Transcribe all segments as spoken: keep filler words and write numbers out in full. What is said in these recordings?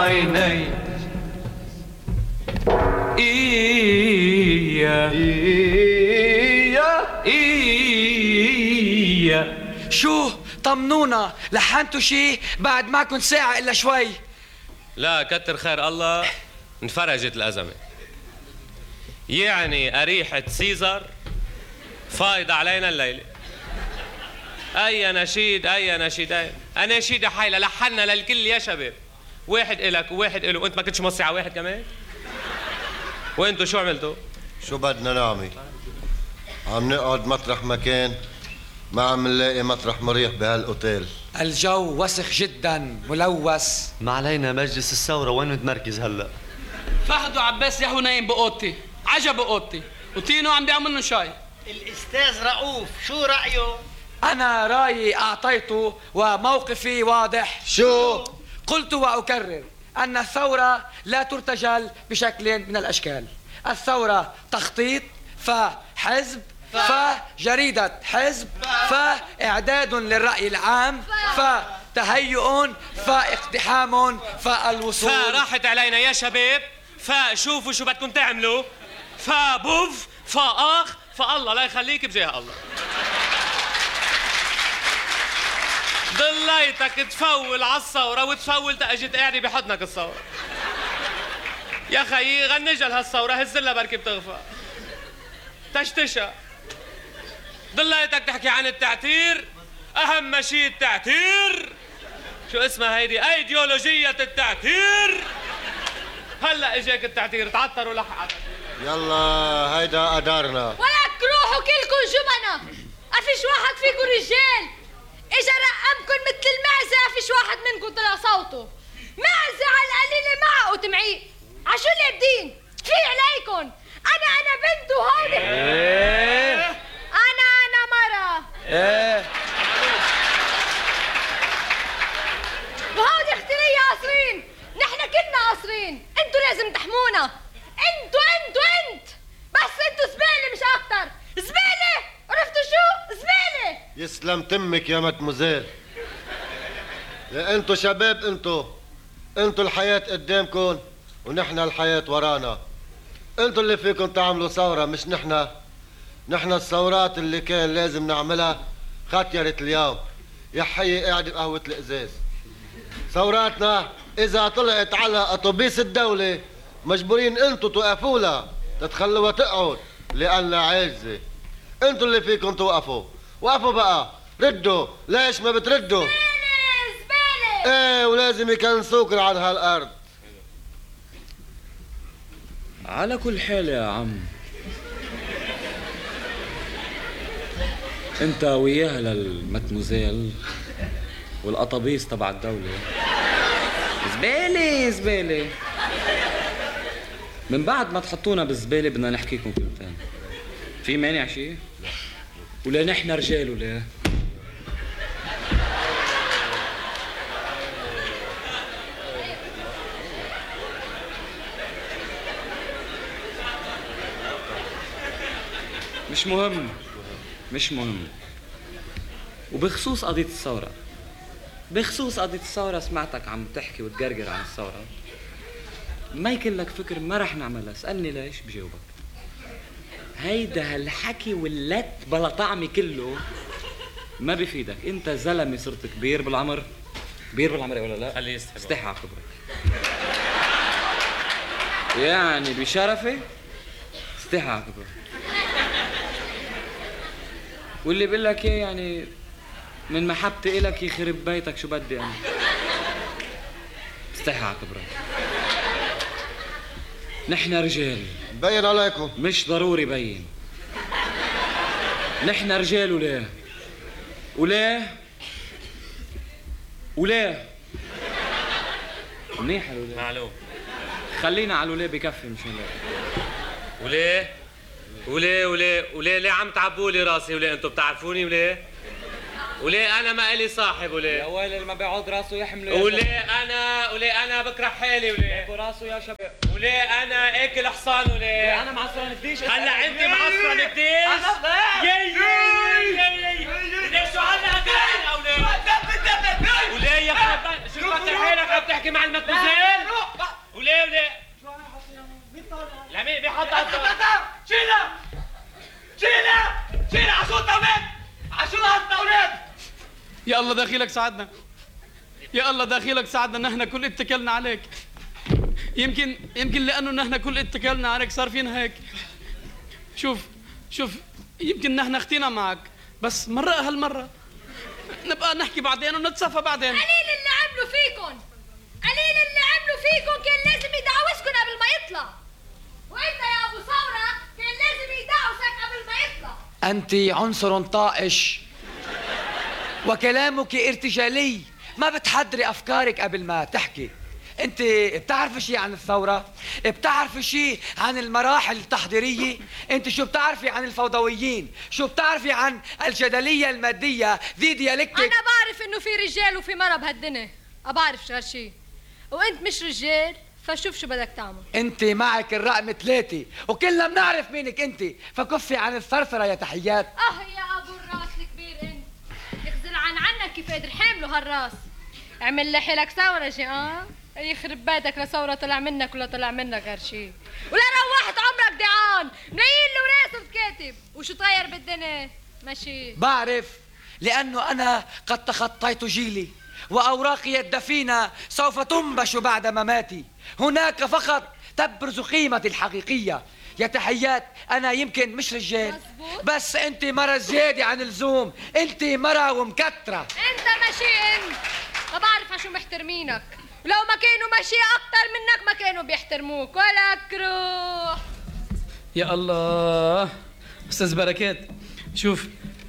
عيني إيا إيا إيا. شو طمنونا، لحنتوا شي بعد ما كنت ساعة إلا شوي؟ لا كتر خير الله انفرجت الأزمة. يعني أريحة سيزر فايضة علينا الليلة. أي نشيد أي نشيد أي أناشيد حيلة لحنا للكل يا شباب. واحد إلك وواحد إله. وأنت ما كنتش موصي على واحد كمان؟ وأنتوا شو عملتوا؟ شو بدنا نعمل؟ عم نقعد مطرح مكان، ما عم نلاقي مطرح مريح بهالأوتيل. الجو وسخ جدا ملوث. ما علينا مجلس الثورة، وين متمركز هلا؟ فهد وعباس ياهو نايم بأوضتي، عجب بأوضتي، وتينو عم بيعمل لنا شاي. الأستاذ رؤوف شو رأيه؟ أنا رأيي أعطيته وموقفي واضح. شو؟ قلت وأكرر أن الثورة لا ترتجل بشكل من الأشكال. الثورة تخطيط، فحزب، فجريدة حزب، فإعداد للرأي العام، فتهيؤ، فاقتحام، فالوصول. فراحت علينا يا شباب، فشوفوا شو بدكم تعملوا، فبوف فآخ فالله لا يخليك بجاه الله. ضليتك تفول على الثورة وتفول تأجت قاعدة بحضنك الثورة. يا خيي غنجل هالثورة، هزلها بركي بتغفى تشتشى. ضليتك تحكي عن التعتير، أهم شيء التعتير. شو اسمها هيدي؟ أيديولوجية التعتير. هلا اجاك التعتير، تعطروا لحق. يلا هيدا قدرنا. ولك روحوا كلكم جبنة، أفيش واحد فيكم رجال. إجا رقمكن مثل المعزة، أفيش واحد منكم طلع صوته. معزة على القليلة معه وتمعيق. عشو اللي بدين؟ في عليكن. أنا أنا بنت وهودي إيه؟ أنا أنا مرة. إيه؟ وهودي اختي لي قاصرين. نحن كلنا قاصرين. انتوا لازم تحمونا. انتوا انتوا انت بس انتوا زبالة مش أكتر. زبالة، عرفتوا شو؟ زبالة. يسلم تمك يا مدموزيل. يا انتو شباب، انتو انتو الحياة قدامكن ونحن الحياة ورانا. انتو اللي فيكم تعملوا ثورة مش نحن. نحن الثورات اللي كان لازم نعملها ختيرت اليوم. يا حي قاعد بقهوة الإزاز. ثوراتنا إذا طلعت على أتوبيس الدولة مجبورين انتو توقفوا لها، تتخلوها تقعد لأنها عاجزة. انتو اللي فيكم توقفوا. وقفوا بقى، ردوا. ليش ما بتردوا؟ زبالة زبالة. ايه، ولازم يكنسوكن على هالأرض. على كل حال يا عم، انت وياها للمتموزيل والقطابيس تبع الدولة زبالة زبالة. من بعد ما تحطونا بالزبالة بدنا نحكيكم كلمتين. في مانع شيء؟ ولا نحن رجال ولا؟ مش مهم مش مهم. وبخصوص قضية الثورة، بخصوص قضية الثورة سمعتك عم تحكي وتقرقر عن الثورة. ما يكن لك فكر ما رح نعملها. اسألني ليش بجاوبك. هيدا هالحكي واللت بلا طعمي كله ما بيفيدك. انت زلمة صرت كبير بالعمر. كبير بالعمر ولا لا؟ خليه يستحي. استحي على كبرك. يعني بشرفي استحي على كبرك. واللي بقول لك ايه يعني من محبتي إلك يخرب بيتك شو بدي انا. استحي على كبرك. نحن رجال. بين عليكم. مش ضروري بين. نحن رجال. وليه وليه وليه منيح الوليه. معلوم. خلينا على الوليه بكفي مش هلا. وليه وليه وليه وليه ليه عم تعبولي راسي؟ وليه انتوا بتعرفوني؟ وليه وليه انا ما الي صاحب؟ وليه يا ويلي اللي ما بيعود راسه يحمله. وليه انا وليه انا بكره حالي؟ وليه راسه يا شباب. وليه انا اكل حصان؟ وليه انا معصرن الديش. هلا انت معصرن الديش؟ يي يي وليه شو هلا هلا وليه وليه يا خربان شو كتر حالك عم تحكي مع المتموزيل؟ يا الله داخلك ساعدنا، يا الله داخلك ساعدنا، نحن كل اتكلنا عليك. يمكن يمكن لأنه نحن كل اتكلنا عليك صار فينا هيك. شوف شوف يمكن نحن اختينا معك، بس مرة هالمرة نبقى نحكي بعدين ونتصافى بعدين. قليل اللي عملوا فيكن، قليل اللي عملوا فيكن، كان لازم يدعوسكن قبل ما يطلع. وانت يا ابو ثورة كان لازم يدعوسك قبل ما يطلع. أنت عنصر طائش وكلامك ارتجالي، ما بتحضري أفكارك قبل ما تحكي. أنت بتعرفي شيء عن الثورة؟ بتعرفي شيء عن المراحل التحضيرية؟ أنت شو بتعرفي عن الفوضويين؟ شو بتعرفي عن الجدلية المادية ذي ديالكتك؟ أنا بعرف إنه في رجال وفي مرة بهالدنيا، أبعرف غير شيء، وأنت مش رجال، فشوف شو بدك تعمل. أنت معك الرقم ثلاثة وكلنا بنعرف مينك أنت، فكفي عن الثرثرة يا تحيات. آه يا أبو الراس الكبير أنت، يخزل عن عنك كيف قدر حامله هالراس. اعمل لحالك ثورة جي آه؟ يخرب بيتك لثورة طلع منك ولا طلع منك غير شيء، ولا روحت عمرك دعان ملايين الوراث بتكاتب، وشو طاير بالدنيا؟ ماشي بعرف، لأنه أنا قد تخطيت جيلي وأوراقي الدفينة سوف تنبش بعد مماتي. هناك فقط تبرز قيمتي الحقيقية. يا تحيات، أنا يمكن مش رجال، مزبوط. بس أنت مرة زيادة عن اللزوم، أنت مرة ومكترة. أنت ماشي أنت، ما بعرف عشو محترمينك، ولو ما كانوا ماشي أكتر منك ما كانوا بيحترموك ولا كروح. يا الله أستاذ بركات، شوف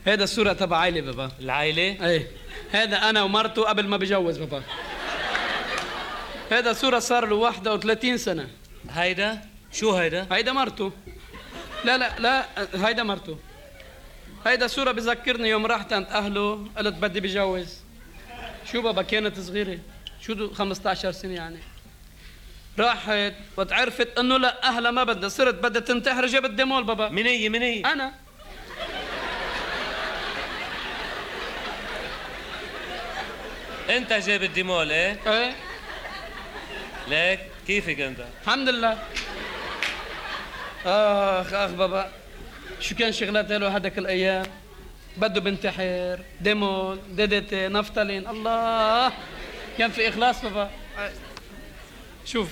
هذا الصورة تبع عائلة بابا. العائلة؟ ايه هذا أنا ومرته قبل ما بجوز بابا. هذا صورة صار له واحدة وثلاثين سنة. هيدا؟ شو هيدا؟ هيدا مرته. لا لا لا هيدا مرته. هيدا صورة بذكرني يوم رحت عند أهله قلت بدي بجوز. شو بابا كانت صغيرة، شو دو خمسة عشر سنة يعني. راحت وتعرفت انه لا اهلها ما بدها، صرت بدها تنتحر، جابت ديمول بابا. من هي من هي؟ انا. انت جاب الديمول ايه؟ ايه ليك كيفك انت؟ الحمد لله. اخ اخ بابا شو كان شغلات له هذاك الايام، بده بنتحر، ديمول، دي دي تي، نفتالين، الله كان في اخلاص بابا. شوف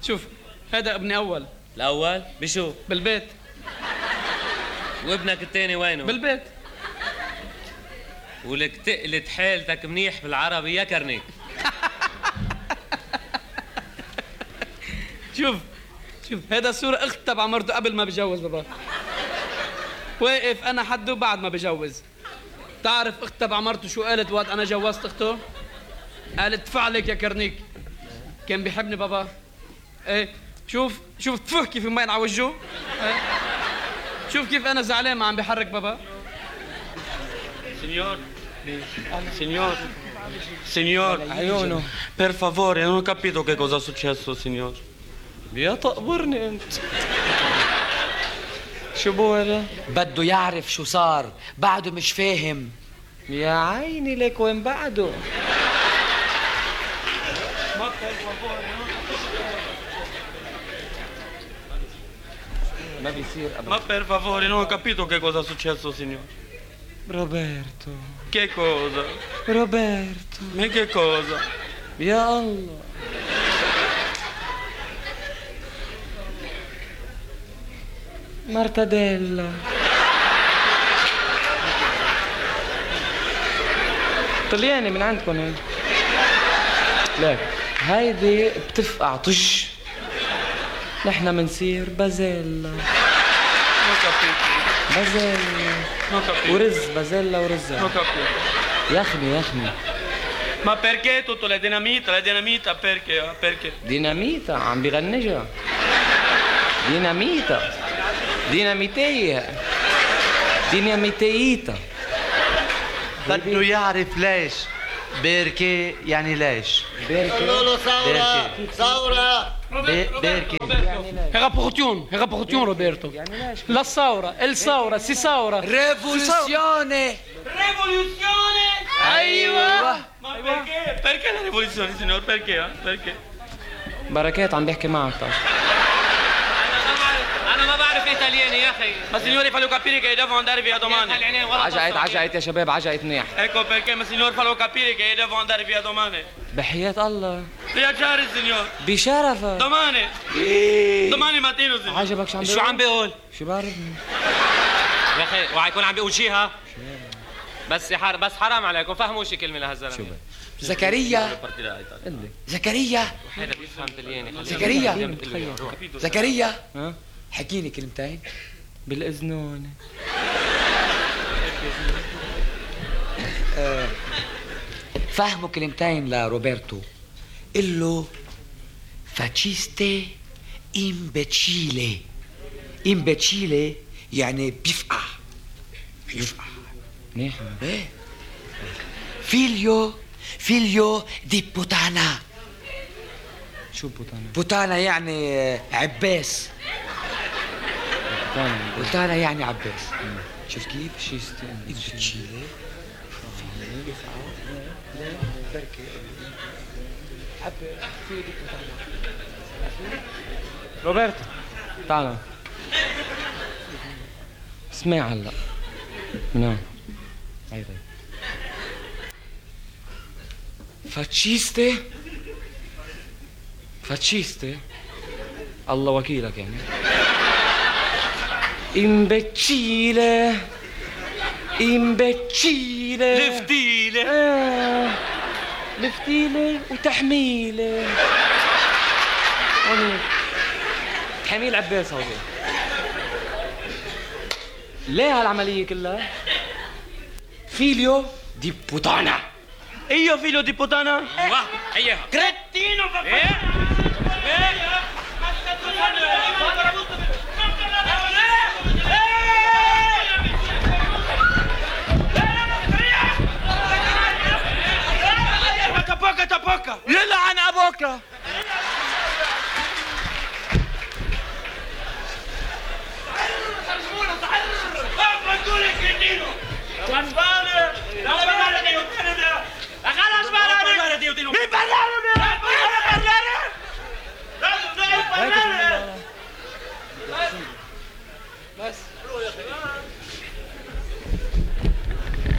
شوف هذا ابني اول. الاول بشو؟ بالبيت. وابنك الثاني وينه؟ بالبيت. ولك تقلت حالتك منيح بالعربي يا كرنيك. شوف شوف هذا الصورة اخت تبع مرته قبل ما بجوز بابا. واقف انا حده بعد ما بجوز. تعرف اخت تبع مرته شو قالت وقت انا جوزت اخته؟ قالت فعلك يا كرنيك. كان بيحبني بابا. ايه شوف شوف تفه كيف مبين على وجهه. ايه شوف كيف انا زعلان ما عم بيحرك بابا. Signor, signor, signor, per favore, non ho capito che cosa è successo, signor. يا تقبرني انت. شو بولا؟ بده يعرف شو صار، بعده مش فاهم. يا عيني لك وين بعده؟ ما بيصير ابدا. Ma per favore, non ho capito che cosa è successo, signor. روبرتو Che cosa? روبرتو Ma che cosa? يا الله مارتاديلا طلياني من عندكم هيك. لك هيدي بتفقع طش، نحن منصير بازيلا. Non ho capito, بازيلا non ho capito, ورز، بازيلا non ورز. ho capito. يخني يخني. Ma perché tutto la dinamita, la dinamita perché? Perché? ديناميتا عم بغنجها. ديناميتا ديناميتية ديناميتيتا. بده يعرف ليش. بيركي يعني ليش. قولوا له ثورة ثورة. بي- بيركي Rapportion, rapportion Roberto. La saura, el saura, si saura. ريفولوسيوني. Rivoluzione! ايوه. Ma perché? Perché la rivoluzione, signor? Perché? eh? Perché? بركات عم بيحكي معك. انا ما بعرف انا ما بعرف ايه ايطالياني يا اخي. Ma signore, fallo capire che devo andare via domani. عجقت عجقت يا شباب عجقت منيح. Ecco perché, ma signore, fallo capire che devo andare via domani. بحياة الله. Viaggiare, signore. بشرفك. Domani. Domani mattino, signore. عجبك شو عم شو عم بيقول؟ شو بعرف؟ يا اخي اوعى يكون عم بيقول شي ها؟ بس يا حر... بس حرام عليكم فهموا شي كلمه لهالزلمه. شو زكريا زكريا هذا بيفهم طلياني. زكريا زكريا ها؟ حكيني كلمتين. بالإذنون. آه، فهموا كلمتين لروبرتو. قل له فاتشيستي امبتشيلي. امبتشيلي يعني بيفقع بيفقع منيح. ايه فيليو فيليو دي بوتانا. شو بوتانا؟ بوتانا يعني آه، عباس. بوتانا. بوتانا يعني عباس. شوف كيف؟ شيستي امبتشيلي روبرتو تعال اسمع هلا من هون. هاي طيب. فاتشيستي فاتشيستي الله وكيلك يعني. امبتشيلة امبتشيلة Leftile. آه. لفتيلة وتحميلة. هونيك تحميل عباس هودي. ليه هالعملية كلها؟ فيليو دي بوتانا. Io figlio di puttana? واه اياها. Cretino, papà. Tapocca, tapocca. يلعن ابوك.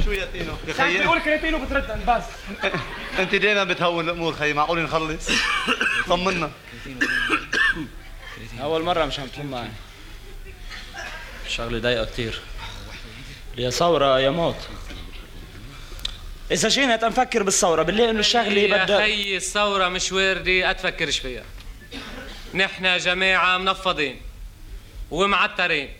شو يا تينو؟ يا خيي بيقول كريتينو بتردن بس. انت دايما بتهون الامور خيي، معقول نخلص؟ طمنا. اول مره مش عم تكون معي. شغله ضايقه كثير. يا ثوره يا موت. اذا جينا تنفكر بالثوره بنلاقي انه الشغله يا بدها. خيي الثوره مش واردة اتفكرش فيها. نحن جماعه منفضين ومعترين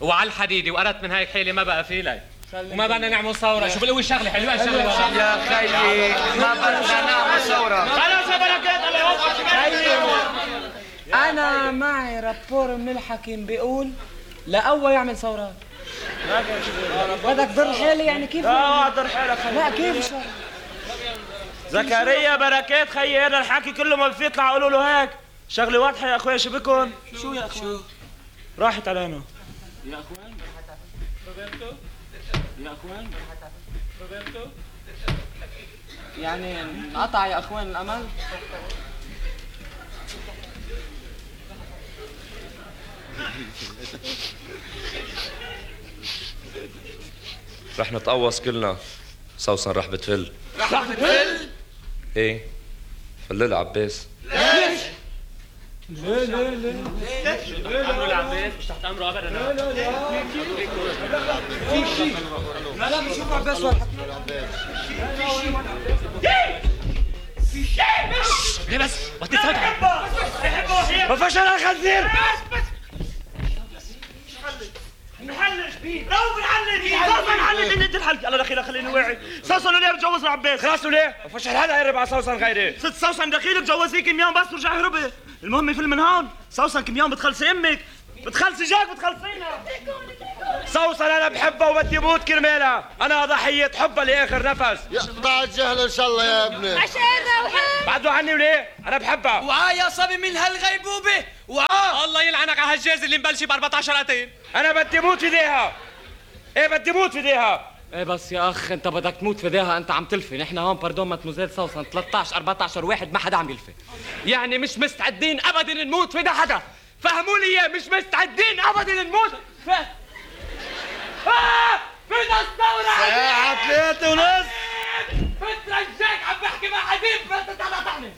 وعلى الحديدة، وقرت من هاي حيلة ما بقى في لي وما بدنا نعمل ثورة. شو بقول شغلة حلوة الشغلة يا خيي ما بدنا نعمل ثورة. خلاص يا بركات الله يوفقك. أنا معي رابور من الحكيم بيقول لأول يعمل ثورات. بدك ضر حالي يعني كيف؟ اه ضر حالك خيي. لا كيف شو؟ زكريا بركات خيي، هذا الحكي كله ما بيطلع قولوا له هيك. شغله واضحه يا اخويا. شو بكون؟ شو يا اخوان؟ راحت علينا يا اخوان. روبرتو يا اخوان. روبرتو يعني انقطع يا أخوان الأمل؟ رح نتقوص كلنا. سوسن رح بتفل. رح بتفل؟ ايه فلل عباس. ليش؟ لا لا لا ليش؟ امره العباس مش تحت امره ابدا. لا لا لا في شيء. لا لا بشوف عباس ولا في شيء. ليه بس؟ وقت تصدق وفشل الخنزير. نحلش بيه. لو بنحلش سوسن حلت انت الحلقه. الله دخيلك خليني واعي. سوسن ليه بتجوز عباس؟ خلاص ليه؟ وفشل هذا قرب على سوسن غيري. ست سوسن دخيلك جوزيه كم يوم بس ورجع هربي. المهم يفل من هون. سوسن كم يوم بتخلصي امك، بتخلصي جاك، بتخلصينا. سوسن انا بحبها وبدي موت كرمالها. انا ضحيه حبها لاخر نفس. يقطع الجهل ان شاء الله يا ابني. عشان روحان بعدوا عني وليه؟ انا بحبها. وعاء يا صبي من هالغيبوبة. وعاء الله يلعنك على هالجاز اللي مبلشي ب أربعطعش قتيل. انا بدي موت في ايديها. ايه بدي موت في ايديها. ايه بس يا اخ انت بدك تموت في داها. انت عم تلفي. نحن هون باردون ماتموزيل سوسن ثلاثطعش أربعطعش واحد ما حدا عم يلفي. يعني مش مستعدين ابدا نموت في ده حدا. فهموا لي اياه، مش مستعدين ابدا نموت. ف... آه! بدنا الثورة ساعة ثلاثة ونص. بترجاك عم بحكي مع حبيب بس تقاطعني.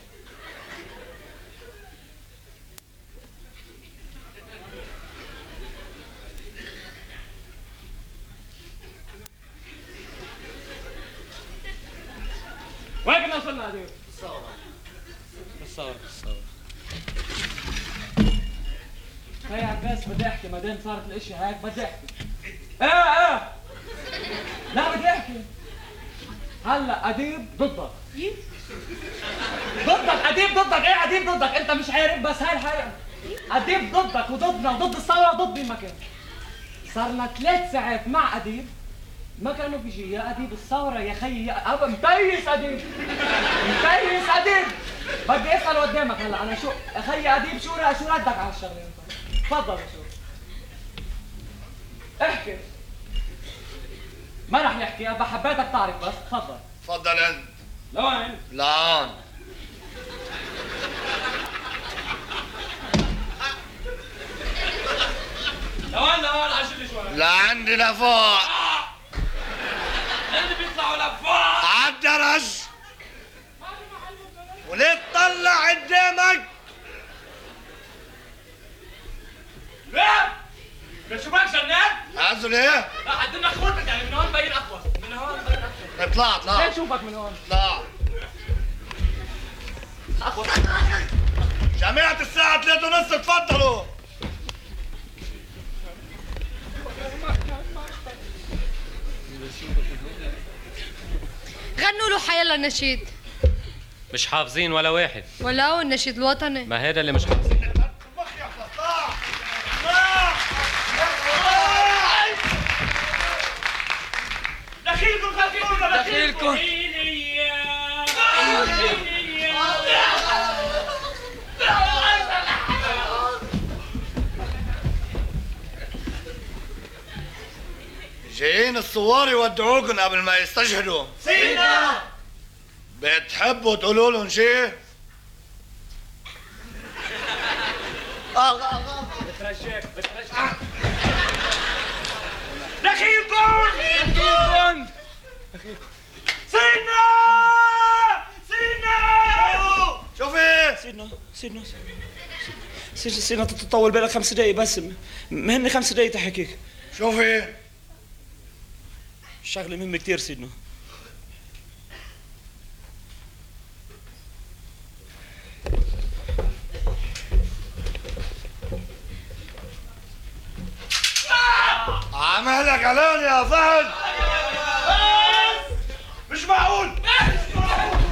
وين كنا وصلنا عديب؟ الثورة الثورة الثورة هاي يا عباس بدي احكي ما دام صارت الاشياء هيك بدي احكي. ايه ايه لا بدي احكي. هلا اديب ضدك. ضدك اديب ضدك. ايه اديب ضدك؟ انت مش عارف بس هاي الحقيقة. اديب ضدك وضدنا وضد الثورة وضد مين ما كان. صارنا ثلاث ساعات مع اديب ما كانوا بيجي. يا اديب الثورة يا خيي يا ابا متيس اديب متيس اديب. بدي اسال قدامك هلا انا شو اخي اديب شو شو ردك على الشغله انت؟ تفضل يا شو احكي. ما رح يحكي ابا حبيتك تعرف بس تفضل. تفضل انت. لوين؟ لهون. لوين لوين عجل شوي. لعندي لفوق. اللي بيطلعوا لفوق عالدرج. وليه تطلع قدامك؟ ليه؟ شو بك جنان؟ عزوا ليه؟ لا عندنا خوتك يعني من هون مبين اقوى. من هون مبين اقوى. اطلع اطلع. ليه نشوفك من هون؟ اطلع. اقوى. جماعة الساعة ثلاثة ونص تفضلوا. غنوا له حيلا نشيد. مش حافظين ولا واحد. ولو النشيد الوطني. ما هذا اللي مش حافظين. دخيلكم دخيلكم دخيلكم. جايين الثوار يودعوكم قبل ما يستشهدوا. سيدنا بتحبوا تقولوا لهم شيء؟ بترجاك بترجاك. دخيلكم دخيلكم. سيدنا سيدنا. شوفي سيدنا سيدنا سيدنا سيدنا تطول بالك خمس دقايق بس. مهمني خمس دقايق تحكيك. شوفي شغلة مهمة كتير سيدنا. عملك علاني يا فهد. مش معقول.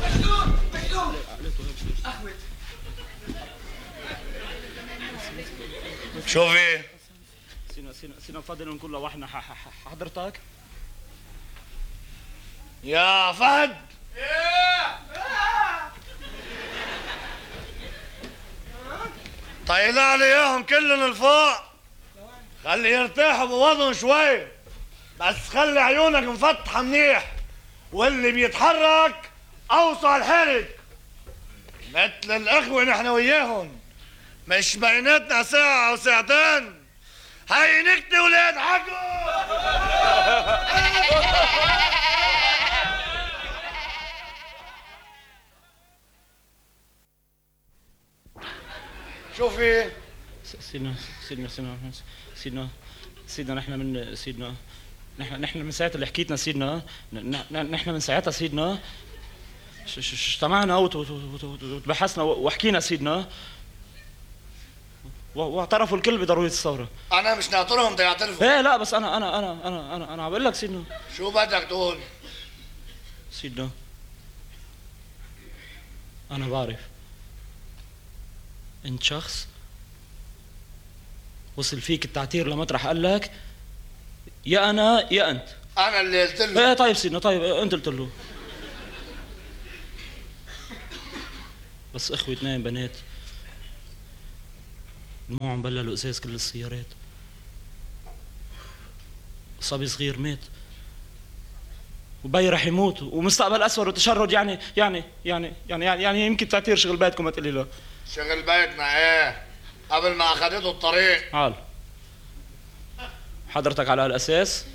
مجنون مجنون. اخوت شوفي سيدنا سيدنا سيدنا بفضل نكون لوحدنا. حضرتك يا فهد. طيلع لي اياهم كلهم لفوق. خلي يرتاحوا بوضعهم شوي بس خلي عيونك مفتحة منيح واللي بيتحرك اوصى الحرك. مثل الاخوة نحن وياهم مش بيناتنا ساعة او ساعتين. هاي نكتة ولاد حقوا. شوفي سيدنا سيدنا سيدنا سيدنا سيدنا نحن من سيدنا نحن نحن من ساعة اللي حكيتنا سيدنا نحن من ساعتها سيدنا اجتمعنا وتبحثنا وحكينا سيدنا واعترفوا الكل بضرورية الثورة. أنا مش ناطرهم بدي يعترفوا. ايه لا بس أنا أنا أنا أنا أنا أنا عم بقول لك سيدنا. شو بدك تقول؟ سيدنا أنا بعرف أنت شخص وصل فيك التعتير لمطرح قال لك يا أنا يا أنت. أنا اللي قلت له. ايه طيب سيدنا طيب أنت قلت له. بس اخوة اثنين بنات دموعهم بللوا ازاز كل السيارات. صبي صغير مات وبي رح يموت ومستقبل اسود وتشرد. يعني يعني يعني يعني يعني, يعني يمكن تعتير شغل بيتكم ما تقولي له. شغل بيتنا ايه قبل ما اخذته الطريق. عال حضرتك على هالاساس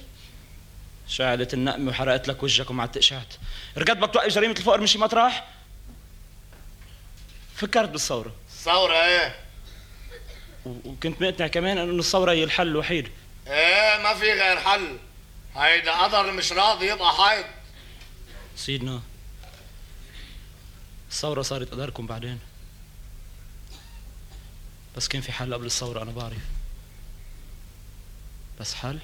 شعلت النقمة وحرقت لك وجهك ومع التقشعت. رجعت بدك توقف جريمة الفقر من شي مطرح؟ فكرت بالثورة. الثورة ايه؟ وكنت مقتنع كمان انه الثورة هي الحل الوحيد. ايه ما في غير حل. هيدا قدر مش راضي يبقى حيط. سيدنا الثورة صارت قدركم بعدين، بس كان في حل قبل الثورة أنا بعرف. بس حل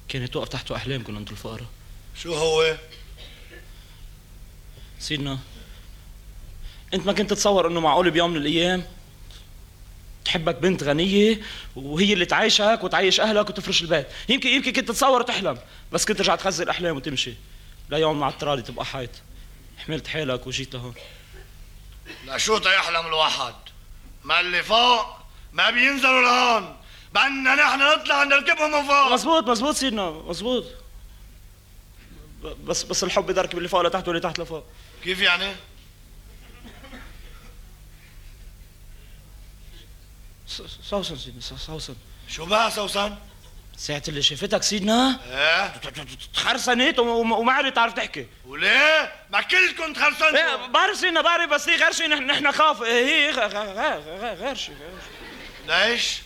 كانت توقف تحته أحلامكم أنتوا الفقراء. شو هو؟ سيدنا أنت ما كنت تتصور إنه معقول بيوم من الأيام تحبك بنت غنية وهي اللي تعيشك وتعيش أهلك وتفرش البيت. يمكن يمكن كنت تتصور وتحلم، بس كنت ترجع تخزي الأحلام وتمشي ليوم مع الترالي تبقى حيط. حملت حالك وجيت لهون. لشو تيحلم الواحد؟ ما اللي فوق ما بينزلوا لهون، بدنا نحن نطلع نركبهم من فوق. مزبوط مزبوط سيدنا مزبوط، بس بس الحب بيدركب اللي فوق لتحت واللي تحت لفوق. كيف يعني؟ سوسن سيدنا سوسن. شو بقى سوسن؟ ساعة اللي شافتك سيدنا ايه تخرسنت وما عرفت تعرف تحكي. وليه؟ ما كلكم تخرسنتوا. ايه بعرف سيدنا بعرف، بس هي غير شيء. نحن نحن خاف. هي غير غير شيء. ليش؟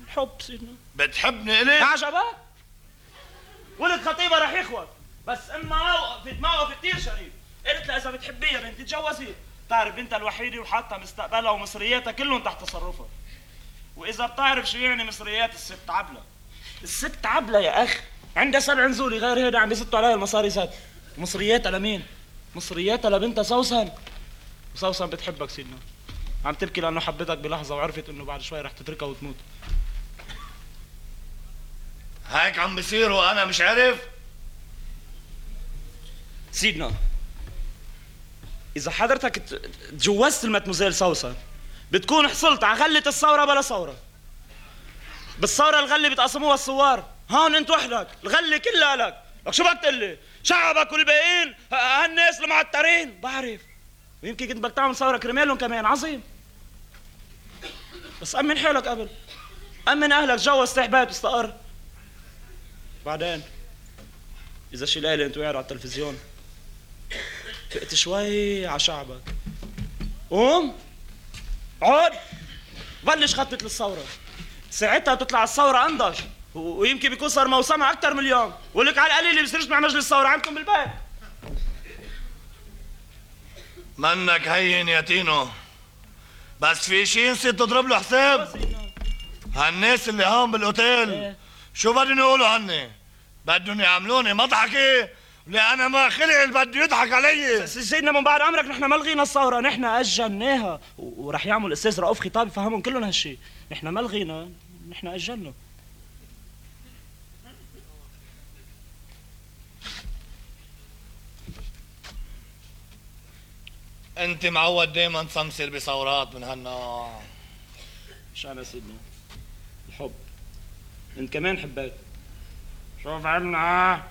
الحب سيدنا. بتحبني إلي؟ عجبك؟ ولد خطيبة رح يخوت، بس امها وقفت موقف كثير شريف. قلت لها إذا بتحبيها بنتي تجوزيه. بتعرف بنتها الوحيدة وحاطة مستقبلها ومصرياتها كلهم تحت تصرفها. وإذا بتعرف شو يعني مصريات الست عبلة. الست عبلة يا أخ عندها سبع نزولي غير هيدا عم بيسطوا عليها المصاري زاد. مصرياتها لمين؟ مصرياتها لبنتها سوسن. وسوسن بتحبك سيدنا، عم تبكي لأنه حبتك بلحظة وعرفت إنه بعد شوي رح تتركها وتموت. هيك عم بيصير وأنا مش عارف؟ سيدنا إذا حضرتك تجوزت المتموزيل سوسن بتكون حصلت على غلة الثورة بلا ثورة. بالثورة الغلة بتقسموها الثوار، هون أنت وحدك الغلة كلها لك. لك شو بدك تقلي؟ شعبك والباقيين هالناس المعترين. بعرف ويمكن كنت بدك تعمل ثورة كرمالهم كمان. عظيم، بس أمن حالك قبل، أمن أهلك، جوز تحبات واستقر. بعدين إذا شي ليلة أنت قاعد على التلفزيون فقت شوي على شعبك، قوم عود بلش خطة للثورة. ساعتها بتطلع الثورة أنضج، ويمكن بيكون صار موسمها أكثر من اليوم. ولك على القليل اللي بيصيرش مع مجلس الثورة عندكم بالبيت. منك هين يا تينو، بس في شي نسيت تضرب له حساب. هالناس اللي هون بالاوتيل شو بدهم يقولوا عني؟ بدهم يعملوني مضحكة اللي انا ما خلق اللي بده يضحك علي. سيدنا من بعد امرك نحن ما لغينا الثورة، نحن اجلناها، ورح يعمل الاستاذ رؤوف خطاب يفهمهم كلهم هالشيء. نحن ما لغينا، نحن اجلنا. انت معود دايما تسمسر بثورات من هالنوع. مش انا سيدنا، الحب. انت كمان حبيت. شوف عنا